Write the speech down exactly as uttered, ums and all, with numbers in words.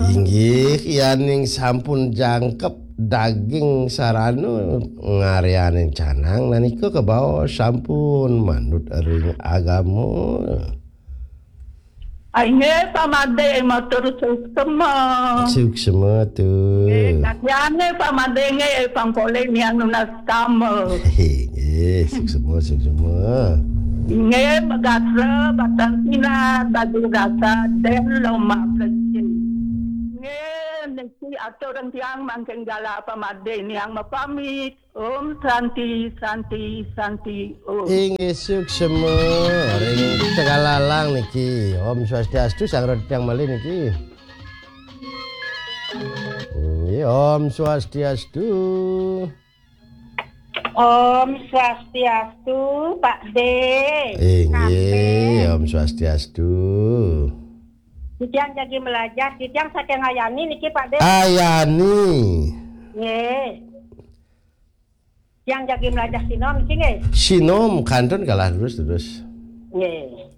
Inggih, yaning sampun jangkep daging sarana ngaryanin canang, nanika kabaos sampun manut ring agama. Inggih, Pak Madé, matur suksma. Suksma, nggih, tu. Tatiangé Pak Madé nggih, pang polih miang nunas tama. Inggih, suksma, suksma. Inggih, magatra, batang sinar, baju rasa, den loma plecing. Inggih, niki atur tiang mangkin galah Pak Madé niang mapamit. Om Santi, Santi, Santi, Om. Inggih, suksma. Ring Tegalalang niki. Om Swastiastu, sang rod tiang malih niki. Inggih, Om Swastiastu. Om Swastiastu, Pak D. Inggih, Om Swastiastu. Titiang jagi melajah, titiang saking Ayani niki, Pak D. Ayani. Nggih. Tiang jagi melajah sinom niki, nggih. Sinom kantun galah terus, terus. Nggih.